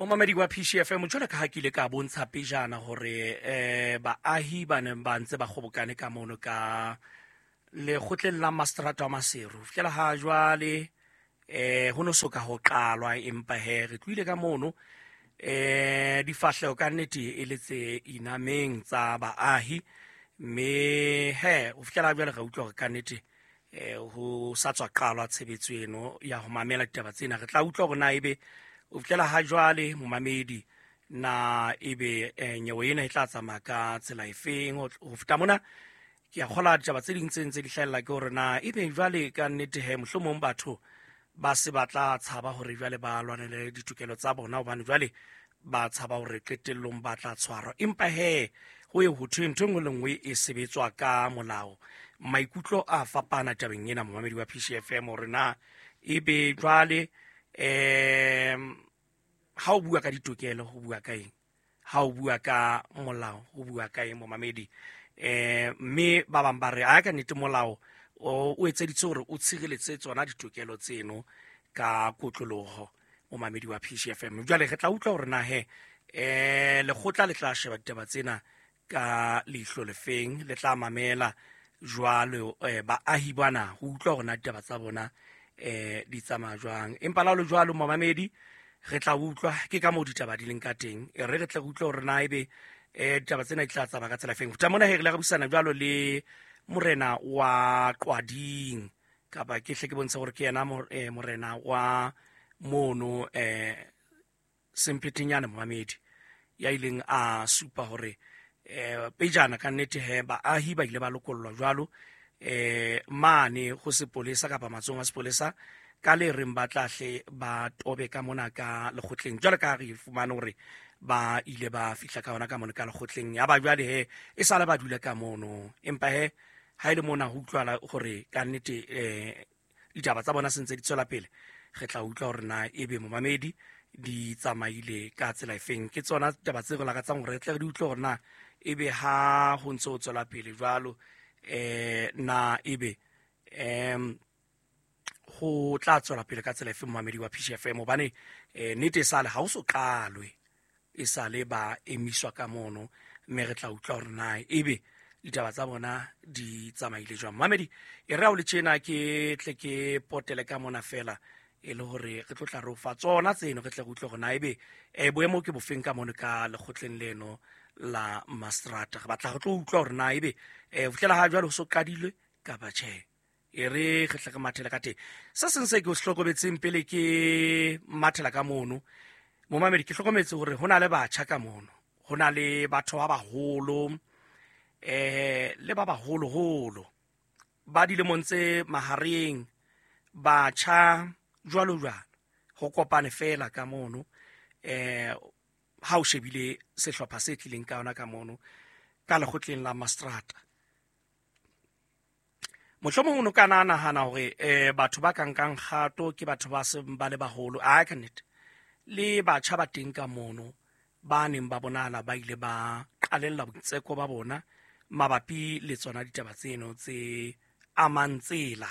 Momamedi wa PCFM, jwalo ka ha ke ile ka bontsha pejana hore baahi ba neng ba ntse ba kgobokane ka mono ka lekgotleng la mastrata wa Maseru fihlela ha jwale ho no soka ho qalwa, empa he re tlohile ka mono difahleho ka nnete e le tse inameng tsa baahi, mme he ho fihlela jwale re utlwa hore ka nnete ho sa tswa qalwa tshebetso eno ya ho mamela ditaba tsena. Re tla utlwa hore na ebe o fihlela ha jwale momamedi na ebe nyewe ena e tla tsamaya ka tsela efeng. Ho feta mona ke a kgola ditaba tse ding tse ntse di hlahella ke hore na ebe jwale ka nnete he mohlomong batho ba se ba tla tshaba hore jwale ba lwanele ditokelo tsa bona, hobane jwale ba tshaba hore qetellong ba tla tshwarwa. Empa he ho ye ho thwe ntho e nngwe le nngwe e sebetswa ka molao. Maikutlo a fapana tabeng ena, momamedi wa PCFM, hore na ebe jwale ha o bua ka ditokelo ho bua ka eng, ha o bua ka molao ho bua ka eng, momamedi? Mme ba bang ba re a ka nnete molao o etseditse hore o tshireletse tsona ditokelo tseno ka kotloloho, momamedi wa PCFM. Jwale re tla utlwa hore na he lekgotla le tla sheba ditaba tsena ka leihlo lefeng, le tla mamela jwalo baahi bana ho utlwa hore na ditaba tsa bona di tsamaya jwang. Empa la ho le jwalo, momamedi, re tla utlwa ke ka moo ditaba di leng ka teng. E re re tle re utlwe hore na ebe ditaba tsena di tla tsamaya ka tsela efeng. Ho feta mona he re ile ra buisana jwalo le morena wa Qwading, kapa ke hle ke bontshe hore ke yena morena wa mono Semphetenyane, momamedi, ya ileng a supa hore pejana ka nnete he baahi ba ile ba lokollwa jwalo mane ho sepolesa kapa matsohong a sepolesa ka le reng ba tla hle ba tobe ka mona ka lekgotleng, jwale ka re fumane hore ba ile ba fihla ka hona ka mona ka lekgotleng, ya ba jwale he e sale ba dula ka mono. Empa he ha ile mona ho utlwala hore ka nnete ditaba tsa bona se ntse di tswela pele. Re tla utlwa hore na ebe momamedi di tsamaile ka tsela efeng. Ke tsona taba tse re lakatsang hore re tle re di utlwe hore na ebe ha ho ntse ho tswela pele jwalo na ebe ho tla tswela pele ka tsela efe, momamedi wa PCFM, hobane nnete e sale ha o so qalwe, e sale ba emiswa ka mono, mme re tla utlwa hore na ebe ditaba tsa bona di tsamaile jwang. Mamedi, e re ha o le tjena ke tle ke potele ka mona fela e le hore re tlo tla re o fa tsona tseno, re tle re utlwe hore na ebe boemo ke bofeng ka mono ka lekgotleng leno la mastrata. Re batla re tlo utlwa hore na ebe ho fihlela ha jwale ho so qadilwe kapa tjhe. E re re tle re mathele ka teng. Se seng se ke o se hlokometseng pele ke mathela ka mono, momamedi, ke hlokometse hore ho na le batjha ka mono, ho na le batho ba baholo le ba baholoholo ba dilemong tse mahareng, batjha jwalo jwalo, ho kopane fela ka mono. Ha o shebile sehlopha se tlileng ka yona ka mono ka lekgotleng la mastrata, mohlomong o no ka na nahana hore batho ba ka nkang kgato ke batho ba seng ba le baholo. A ka nnete le batjha ba teng ka mono ba neng ba bonahala ba ile ba qalella boitseko ba bona mabapi le tsona ditaba tseno tse amang tsela.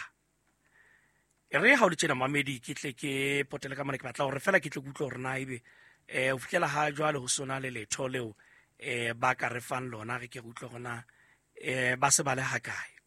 E re ha o le tjena mamedi, ke tle ke potele ka mona, ke batla hore fela ke tle ke utlwe hore na ebe ho fihlela ha jwale ho sona le letho leo ba ka re fang lona, re ke re utlwe hore na ba se ba le hakae.